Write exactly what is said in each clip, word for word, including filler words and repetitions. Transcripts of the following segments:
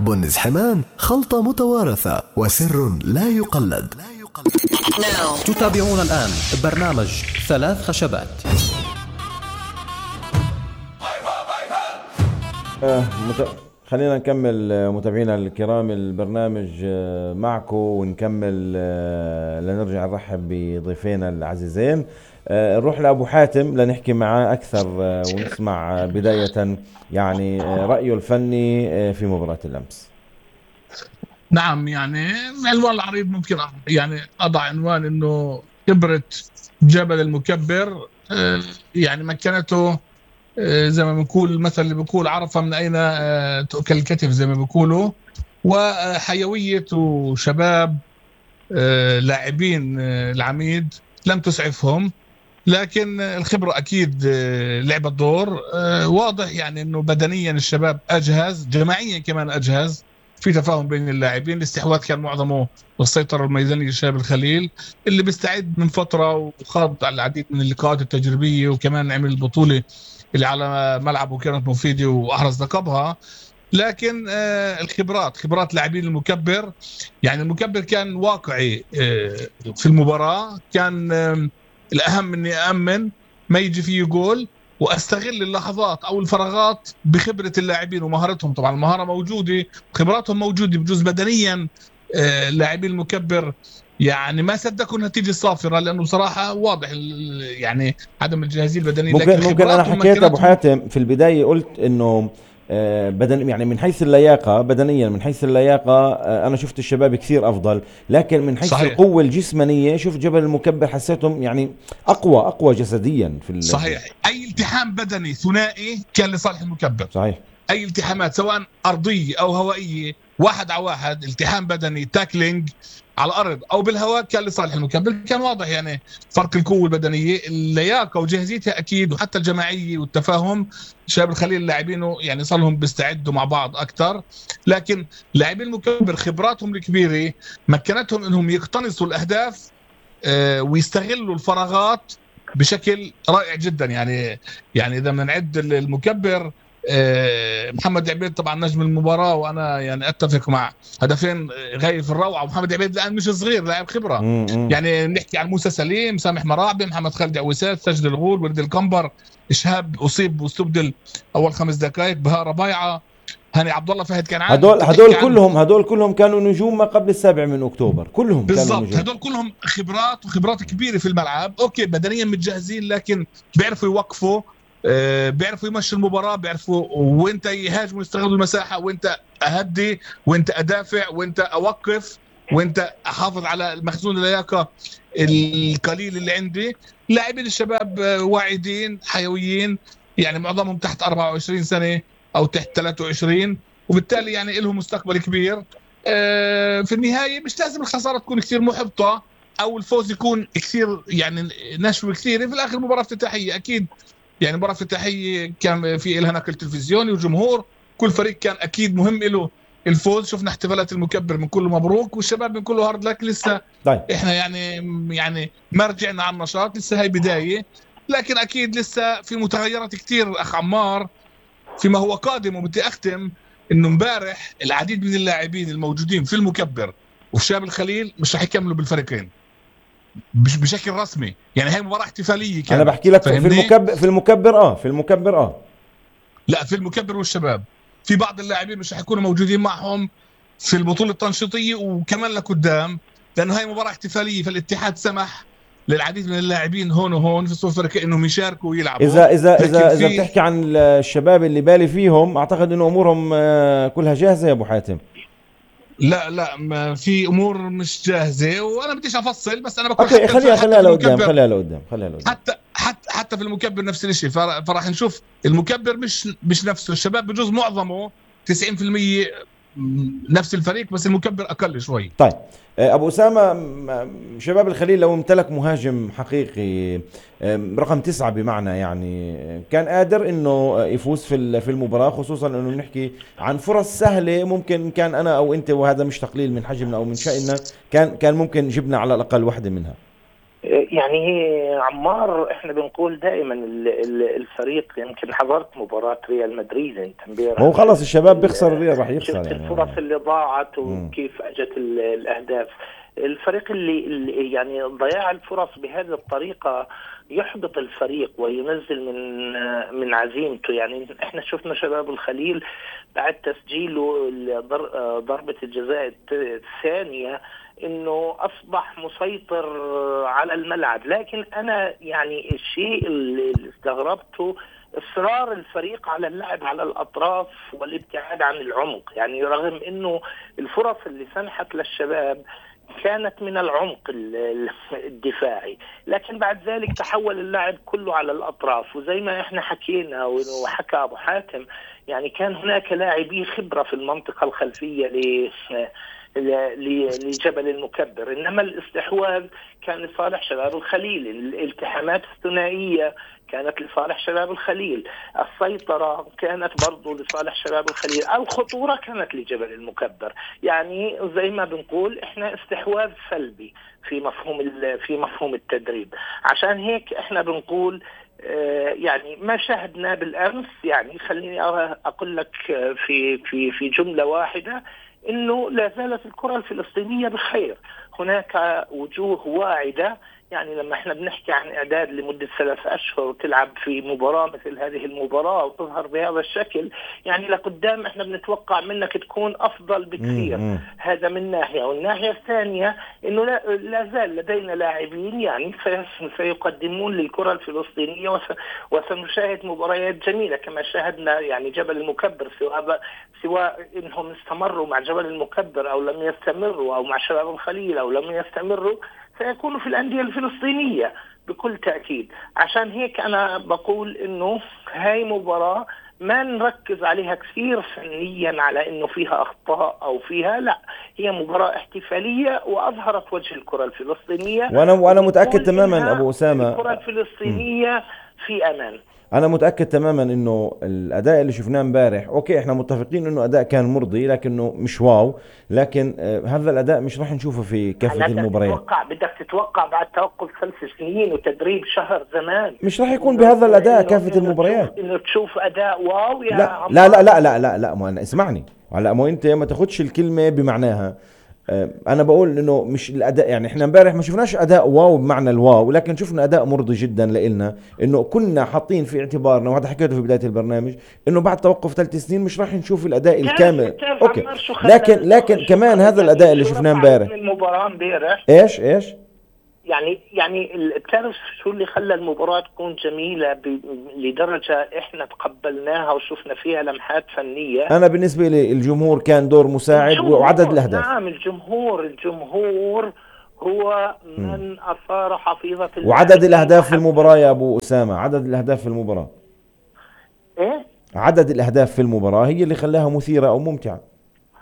بنز حمان خلطة متوارثة وسر لا يقلد. تتابعون الآن برنامج ثلاث خشبات. آه مت... خلينا نكمل متابعينا الكرام البرنامج معكم ونكمل لنرجع نرحب بضيفينا العزيزين. نروح لأبو حاتم لنحكي معاه أكثر ونسمع بداية يعني رأيه الفني في مباراة الأمس. نعم، يعني العنوان العريض ممكن يعني أضع عنوان إنه خبرة جبل المكبر، يعني مكنته زي ما بنقول المثل اللي بيقول عرفة من أين تؤكل الكتف زي ما بيقولوا، وحيوية وشباب لاعبين العميد لم تسعفهم، لكن الخبرة أكيد لعبت دور. واضح يعني أنه بدنيا الشباب أجهز، جماعيا كمان أجهز، في تفاهم بين اللاعبين. الاستحواذ كان معظمه والسيطرة الميدانية لشباب الخليل اللي بيستعد من فترة وخاض على العديد من اللقاءات التجريبية، وكمان عمل البطولة اللي على ملعبه كانت مفيدة وأحرز لقبها. لكن آه الخبرات خبرات لاعبين المكبر، يعني المكبر كان واقعي آه في المباراة. كان آه الأهم إني أأمن ما يجي فيه جول وأستغل اللحظات أو الفراغات بخبرة اللاعبين ومهارتهم. طبعا المهارة موجودة، خبراتهم موجودة، بجوز بدنيا آه لاعبين المكبر يعني ما صدقوا النتيجة الصافرة، لأنه بصراحة واضح يعني عدم الجاهزية البدنية. ممكن لكن ممكن أنا حكيت أبو حاتم في البداية، قلت إنه بدن يعني من حيث اللياقة بدنيا، من حيث اللياقة أنا شفت الشباب كثير أفضل، لكن من حيث صحيح. القوة الجسمانية شفت جبل المكبر حسيتهم يعني أقوى أقوى جسديا في صحيح. أي التحام بدني ثنائي كان لصالح المكبر. صحيح. أي التحامات سواء أرضية أو هوائية، واحد على واحد، التحام بدني تاكلينج على الأرض أو بالهواء، كان لصالح المكبر. كان واضح يعني فرق القوة البدنية، اللياقة وجاهزيتها أكيد، وحتى الجماعية والتفاهم. شباب الخليل اللاعبين يعني صار لهم بيستعدوا مع بعض أكتر، لكن لاعبين المكبر خبراتهم الكبيرة مكنتهم إنهم يقتنصوا الأهداف آه ويستغلوا الفراغات بشكل رائع جدا. يعني يعني إذا بنعد المكبر، محمد عبيد طبعا نجم المباراة، وأنا يعني أتفق مع هدفين غاية في الروعة. ومحمد عبيد الآن مش صغير، لاعب خبرة. م- م. يعني نحكي عن موسى سليم، سامح مراعبي، محمد خالد عويسات، سجل الغول، ولد القنبر، إشهاب أصيب واستبدل أول خمس دقائق، بهاء ربيعة، هاني عبد الله، فهد كان عادي. هدول هدول كلهم هدول كلهم كانوا نجوم ما قبل السابع من أكتوبر، كلهم بالضبط. هدول كلهم خبرات وخبرات كبيرة في الملعب. أوكي بدنيا متجهزين، لكن بيعرفوا يوقفوا، أه بيعرفوا يمشي المباراة، بيعرفوا وانت يهاجموا يستغلوا المساحة، وانت أهدي، وانت أدافع، وانت أوقف، وانت أحافظ على المخزون اللياقة القليل اللي عندي. لاعبين الشباب واعدين حيويين، يعني معظمهم تحت أربعة وعشرين سنة أو تحت ثلاثة وعشرين، وبالتالي يعني لهم مستقبل كبير. أه في النهاية مش لازم الخسارة تكون كثير محبطة أو الفوز يكون كثير يعني نشوة كثيرة. في الآخر مباراة افتتاحية أكيد، يعني مباراة افتتاحية كان في إلها نقل تلفزيوني وجمهور، كل فريق كان أكيد مهم له الفوز. شفنا احتفالات المكبر من كله مبروك، والشباب من كله هارد لك. لسه طيب. إحنا يعني يعني ما رجعنا على النشاط، لسه هاي بداية، لكن أكيد لسه في متغيرات كتير أخ عمار فيما هو قادم. وبدي أختم إنه مبارح العديد من اللاعبين الموجودين في المكبر وفي شباب الخليل مش رح يكملوا بالفريقين مش بشكل رسمي، يعني هاي مباراة احتفالية كانت. أنا بحكي لك في المكبر في المكبر آه في المكبر آه لا في المكبر والشباب في بعض اللاعبين مش حيكونوا موجودين معهم في البطولة التنشيطية وكمان لقدام، لأنه هاي مباراة احتفالية، فالاتحاد سمح للعديد من اللاعبين هون وهون في الصف الفريق انهم يشاركوا ويلعبوا. اذا اذا اذا اذا بتحكي عن الشباب اللي بالي فيهم، اعتقد انه امورهم كلها جاهزة يا ابو حاتم. لا لا ما في امور مش جاهزه، وانا بديش افصل، بس انا بقول اوكي خليها خليها لقدام خليها لقدام خليها لقدام حتى حتى حتى في المكبر نفس الشيء. فراح نشوف المكبر مش مش نفسه، الشباب بجوز معظمه تسعين بالمية نفس الفريق، بس المكبر اقل شوي. طيب ابو اسامه، شباب الخليل لو امتلك مهاجم حقيقي رقم تسعة بمعنى، يعني كان قادر انه يفوز في في المباراه، خصوصا انه نحكي عن فرص سهله. ممكن كان انا او انت، وهذا مش تقليل من حجمنا او من شأننا، كان كان ممكن جبنا على الاقل واحده منها. يعني عمار احنا بنقول دائما الفريق، يمكن حضرت مباراة ريال مدريد انت امبارح، هو خلص الشباب بيخسر الريال راح يخسر شفت يعني الفرص اللي ضاعت وكيف اجت الاهداف. الفريق اللي, اللي يعني ضياع الفرص بهذه الطريقة يحبط الفريق وينزل من من عزيمته. يعني احنا شفنا شباب الخليل بعد تسجيله ضربة الجزاء الثانية انه اصبح مسيطر على الملعب، لكن انا يعني الشيء اللي استغربته اصرار الفريق على اللعب على الاطراف والابتعاد عن العمق. يعني رغم انه الفرص اللي سنحت للشباب كانت من العمق الدفاعي، لكن بعد ذلك تحول اللعب كله على الأطراف. وزي ما احنا حكينا وحكى أبو حاتم، يعني كان هناك لاعبي خبرة في المنطقة الخلفية لجبل المكبر، إنما الاستحواذ كان لصالح شباب الخليل، الالتحامات الثنائية كانت لصالح شباب الخليل، السيطرة كانت برضو لصالح شباب الخليل، الخطورة كانت لجبل المكبر. يعني زي ما بنقول احنا استحواذ سلبي في مفهوم في مفهوم التدريب. عشان هيك احنا بنقول اه يعني ما شاهدنا بالامس، يعني خليني اقول لك في في في جملة واحدة انه لا زالت الكرة الفلسطينية بخير. هناك وجوه واعدة، يعني لما احنا بنحكي عن اعداد لمدة ثلاث اشهر وتلعب في مباراة مثل هذه المباراة وتظهر بهذا الشكل، يعني لقدام احنا بنتوقع منك تكون افضل بكثير. مم. هذا من ناحية، والناحية الثانية انه لا, لا زال لدينا لاعبين يعني سيقدمون للكرة الفلسطينية، وس وسنشاهد مباريات جميلة كما شاهدنا يعني جبل المكبر، سواء سواء انهم استمروا مع جبل المكبر او لم يستمروا، او مع شباب الخليل او لم يستمروا، سيكونوا في الأندية الفلسطينية بكل تأكيد. عشان هيك أنا بقول إنه هاي مباراة ما نركز عليها كثير فنيا على إنه فيها أخطاء أو فيها، لا، هي مباراة احتفالية وأظهرت وجه الكرة الفلسطينية. وأنا وأنا متأكد تماما أبو أسامة الكرة الفلسطينية في أمان. أنا متأكد تماما إنه الأداء اللي شفناه امبارح، أوكي إحنا متفقين إنه أداء كان مرضي لكنه مش واو، لكن آه هذا الأداء مش راح نشوفه في كافة المباريات. تتوقع بدك تتوقع بعد توقف ثلاث سنين وتدريب شهر زمان مش راح يكون بهذا الأداء كافة المباريات. إنه تشوف أداء واو يا لا لا لا لا لا لا, لا ما أنا اسمعني على ما أنت ما تاخدش الكلمة بمعناها. أنا بقول إنه مش الأداء، يعني إحنا امبارح ما شفناش أداء واو بمعنى الواو، لكن شفنا أداء مرضي جدا لإلنا. إنه كنا حاطين في اعتبارنا، وهذا حكيته في بداية البرنامج، إنه بعد توقف ثلاث سنين مش راح نشوف الأداء الكامل. أوكي، لكن لكن كمان هذا الأداء اللي شفناه امبارح. المباراة امبارح إيش إيش يعني يعني بتعرف شو اللي خلى المباراة تكون جميلة لدرجة احنا تقبلناها وشفنا فيها لمحات فنية؟ انا بالنسبة لي الجمهور كان دور مساعد وعدد الاهداف. نعم، الجمهور الجمهور هو من م. اثار حفيظة وعدد الاهداف في المباراة يا ابو اسامة، عدد الاهداف في المباراة ايه عدد الاهداف في المباراة هي اللي خلاها مثيرة او ممتعة.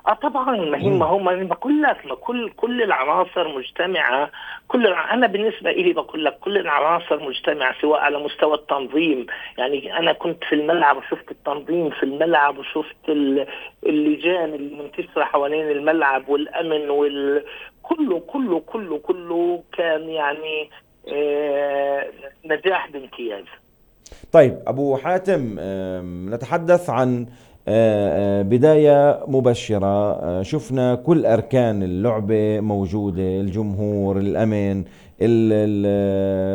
اه طبعا، ما هي ما هو ما بقول لك ما كل كل العناصر مجتمعه. كل انا بالنسبه لي بقول لك كل العناصر مجتمعه، سواء على مستوى التنظيم. يعني انا كنت في الملعب وشفت التنظيم في الملعب، وشفت اللجان المنتشره حوالين الملعب والامن وال كله كله كله كله كان يعني آه نجاح بامتياز. طيب ابو حاتم، نتحدث عن بداية مبشرة. شفنا كل أركان اللعبة موجودة، الجمهور، الأمن،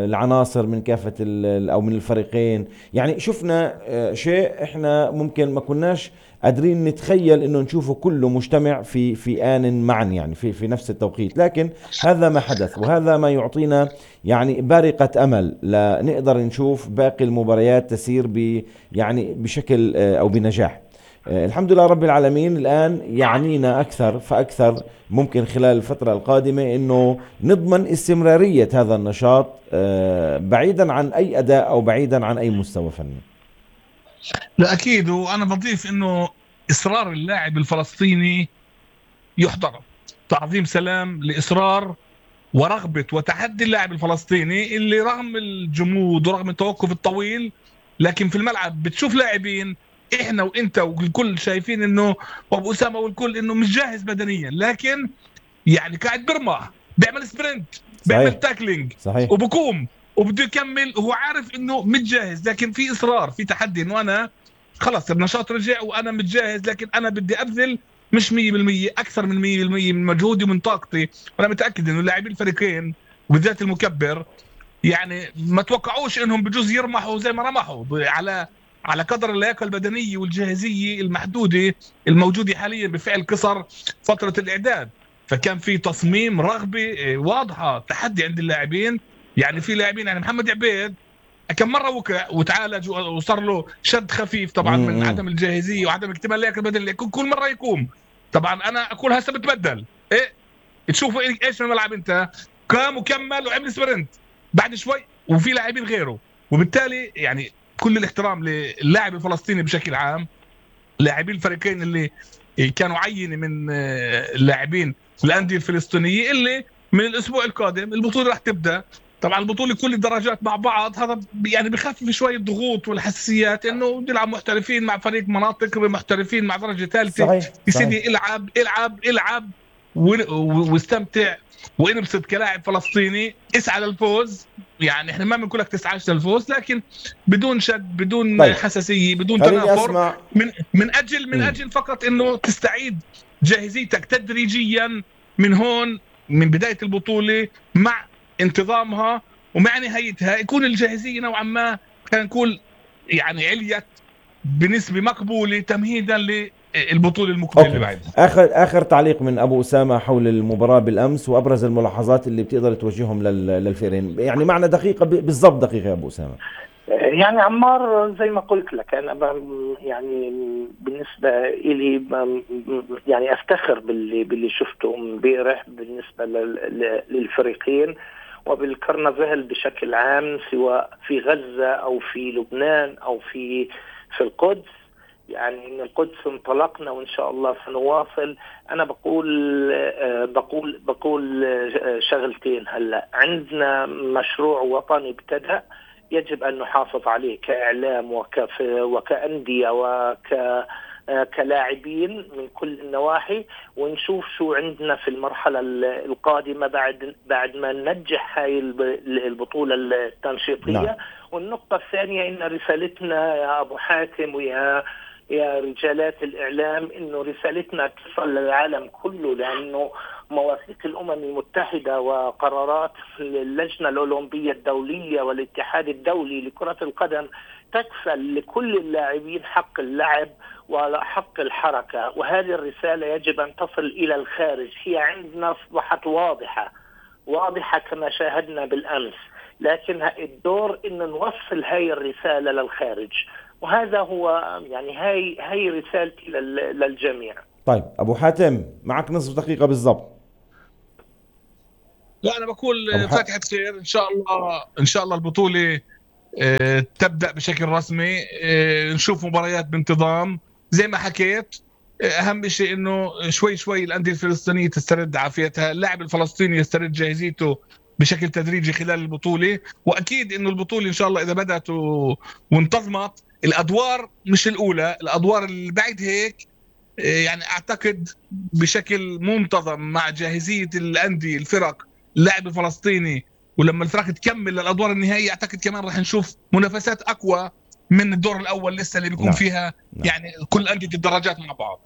العناصر من كافة أو من الفريقين. يعني شفنا شيء إحنا ممكن ما كناش قادرين نتخيل إنه نشوفه كله مجتمع في في آن معا، يعني في في نفس التوقيت. لكن هذا ما حدث، وهذا ما يعطينا يعني بارقة أمل لنقدر نشوف باقي المباريات تسير ب يعني بشكل أو بنجاح. الحمد لله رب العالمين. الآن يعنينا أكثر فأكثر ممكن خلال الفترة القادمة إنه نضمن استمرارية هذا النشاط بعيدا عن أي أداء أو بعيدا عن أي مستوى فني. لا أكيد، وأنا بضيف إنه إصرار اللاعب الفلسطيني يحترم. تعظيم سلام لإصرار ورغبة وتحدي اللاعب الفلسطيني اللي رغم الجمود ورغم التوقف الطويل، لكن في الملعب بتشوف لاعبين احنا وانت والكل شايفين انه وابو اسامه والكل انه مش جاهز بدنيا، لكن يعني قاعد برمح بيعمل سبرنت بيعمل تاكلينج صحيح. وبقوم وبده يكمل وهو عارف انه متجهز، لكن في اصرار، في تحدي انه انا خلص النشاط رجع وانا متجهز، لكن انا بدي ابذل مش مية بالمية، اكثر من مية بالمية من مجهودي ومن طاقتي. وانا متاكد انه لاعبي الفريقين وبالذات المكبر يعني ما توقعوش انهم بجوز يرمحوا زي ما رمحوا على على قدر اللياقه البدنيه والجاهزيه المحدوده الموجوده حاليا بفعل قصر فتره الاعداد. فكان في تصميم، رغبه واضحه، تحدي عند اللاعبين. يعني في لاعبين يعني محمد عبيد كم مره وقع وتعالج وصار له شد خفيف طبعا من عدم الجاهزيه وعدم اكتمال اللياقه البدنيه، كل مره يقوم. طبعا انا اقول هسه بتبدل ايه، تشوفوا ايش في الملعب، انت قام وكمل وعمل سبرنت بعد شوي وفي لاعبين غيره. وبالتالي يعني كل الاحترام للاعب الفلسطيني بشكل عام، لاعبين الفريقين اللي كانوا عينه من اللاعبين الانديه الفلسطينيه، اللي من الاسبوع القادم البطوله راح تبدا. طبعا البطوله كل الدرجات مع بعض، هذا يعني بخفف شويه الضغوط والحساسيات، انه يلعب محترفين مع فريق مناطق، محترفين مع درجه ثالثه، يا سيدي العب العب العب واستمتع وانبسط كلاعب فلسطيني، اسعى للفوز. يعني احنا ما بنقول لك تسعاش للفوز، لكن بدون شد، بدون طيب. حساسيه، بدون تنافر، من من اجل من م. اجل فقط انه تستعيد جاهزيتك تدريجيا من هون، من بدايه البطوله مع انتظامها ومع نهايتها، يكون الجاهزيه نوعا ما خلينا نقول يعني عليت بنسبه مقبوله تمهيدا للبطوله المقبله اللي بعدها. اخر اخر تعليق من ابو اسامه حول المباراه بالامس وابرز الملاحظات اللي بتقدر توجههم للفريقين، يعني معنا دقيقه بالضبط، دقيقه يا ابو اسامه. يعني عمار زي ما قلت لك انا يعني بالنسبه لي يعني افتخر باللي باللي شفته امبارح بالنسبه للفريقين وبالكرنفال بشكل عام، سواء في غزه او في لبنان او في في القدس. يعني من القدس انطلقنا وان شاء الله سنواصل. انا بقول بقول بقول شغلتين. هلا عندنا مشروع وطني ابتدأ، يجب أن نحافظ عليه كإعلام وكف وكأندية وك كلاعبين من كل النواحي، ونشوف شو عندنا في المرحلة القادمة بعد بعد ما ننجح هاي البطولة التنشيطية. نعم. والنقطة الثانية إن رسالتنا يا أبو حاتم ويا يا رجالات الإعلام، إنه رسالتنا تصل للعالم كله، لأنه مواثيق الأمم المتحدة وقرارات اللجنة الأولمبية الدولية والاتحاد الدولي لكرة القدم تكفل لكل اللاعبين حق اللعب وحق الحركة، وهذه الرسالة يجب أن تصل إلى الخارج. هي عندنا أصبحت واضحة واضحة كما شاهدنا بالأمس، لكن الدور إن نوصل هاي الرسالة للخارج، وهذا هو يعني هاي هاي رسالتي للجميع. طيب أبو حاتم معك نصف دقيقة بالضبط. لا أنا بقول فاتحة خير إن شاء الله. إن شاء الله البطولة اه تبدأ بشكل رسمي، اه نشوف مباريات بانتظام زي ما حكيت. اه أهم شيء إنه شوي شوي الأندية الفلسطينية تسترد عافيتها، اللاعب الفلسطيني يسترد جاهزيته بشكل تدريجي خلال البطولة. وأكيد إنه البطولة إن شاء الله إذا بدأت و... وانتظمت، الأدوار مش الأولى، الأدوار اللي بعد هيك يعني أعتقد بشكل منتظم مع جاهزية الأندية الفرق اللاعب الفلسطيني، ولما الفرق تكمل للأدوار النهائية أعتقد كمان راح نشوف منافسات أقوى من الدور الأول لسه اللي بيكون نعم. فيها نعم. يعني كل أندية الدرجات مع بعض.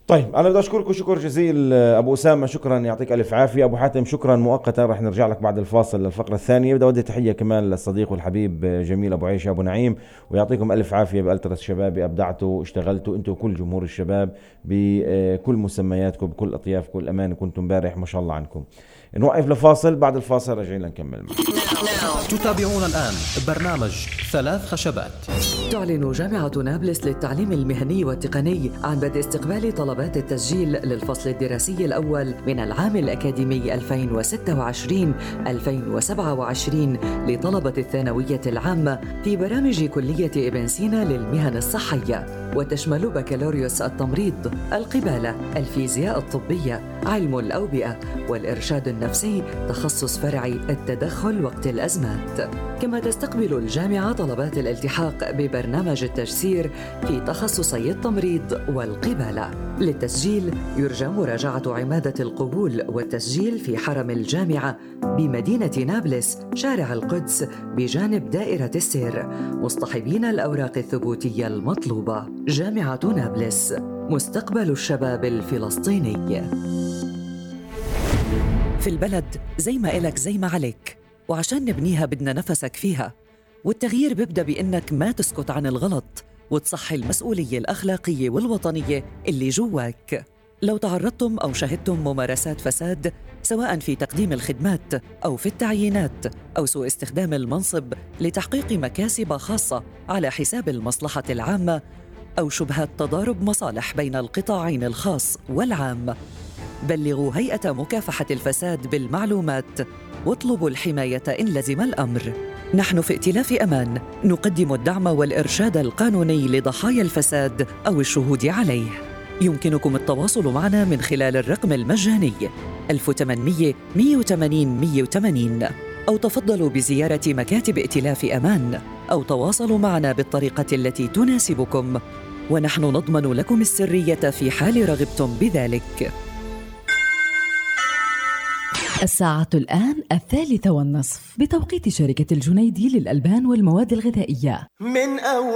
طيب أنا بدي أشكركم شكر جزيل أبو أسامة، شكرا يعطيك ألف عافية. أبو حاتم شكرا مؤقتا، رح نرجع لك بعد الفاصل للفقرة الثانية. بدي أودي تحية كمان للصديق والحبيب جميل أبو عيشة أبو نعيم، ويعطيكم ألف عافية بألترس شبابي. أبدعتوا، اشتغلتوا أنتوا وكل جمهور الشباب بكل مسمياتكم بكل أطياف كل أمان. كنتم امبارح ما شاء الله عنكم. نوقف لفاصل، بعد الفاصل رجعنا نكمل. تتابعون الآن برنامج ثلاث خشبات. تعلن جامعة نابلس للتعليم المهني والتقني عن بدء استقبال طلبات التسجيل للفصل الدراسي الأول من العام الأكاديمي ألفين وستة وعشرين ألفين وسبعة وعشرين لطلبة الثانوية العامة في برامج كلية ابن سينا للمهن الصحية. وتشمل بكالوريوس التمريض، القبالة، الفيزياء الطبية، علم الأوبئة والإرشاد النفسي تخصص فرعي التدخل وقت الأزمات. كما تستقبل الجامعة طلبات الالتحاق ببرنامج التجسير في تخصصي التمريض والقبالة. للتسجيل يرجى مراجعة عمادة القبول والتسجيل في حرم الجامعة بمدينة نابلس شارع القدس بجانب دائرة السير، مصطحبين الأوراق الثبوتية المطلوبة. جامعة نابلس، مستقبل الشباب الفلسطيني. في البلد زي ما إلك زي ما عليك، وعشان نبنيها بدنا نفسك فيها، والتغيير بيبدأ بإنك ما تسكت عن الغلط وتصحي المسؤولية الأخلاقية والوطنية اللي جواك. لو تعرضتم أو شهدتم ممارسات فساد سواء في تقديم الخدمات أو في التعيينات أو سوء استخدام المنصب لتحقيق مكاسب خاصة على حساب المصلحة العامة أو شبهات تضارب مصالح بين القطاعين الخاص والعام، بلغوا هيئة مكافحة الفساد بالمعلومات واطلبوا الحماية إن لزم الأمر. نحن في ائتلاف أمان نقدم الدعم والإرشاد القانوني لضحايا الفساد أو الشهود عليه. يمكنكم التواصل معنا من خلال الرقم المجاني ألف وثمانمئة مئة وثمانين مئة وثمانين، أو تفضلوا بزيارة مكاتب ائتلاف أمان، أو تواصلوا معنا بالطريقة التي تناسبكم، ونحن نضمن لكم السرية في حال رغبتم بذلك. الساعة الآن الثالثة والنصف بتوقيت شركة الجنيدي للألبان والمواد الغذائية. من أول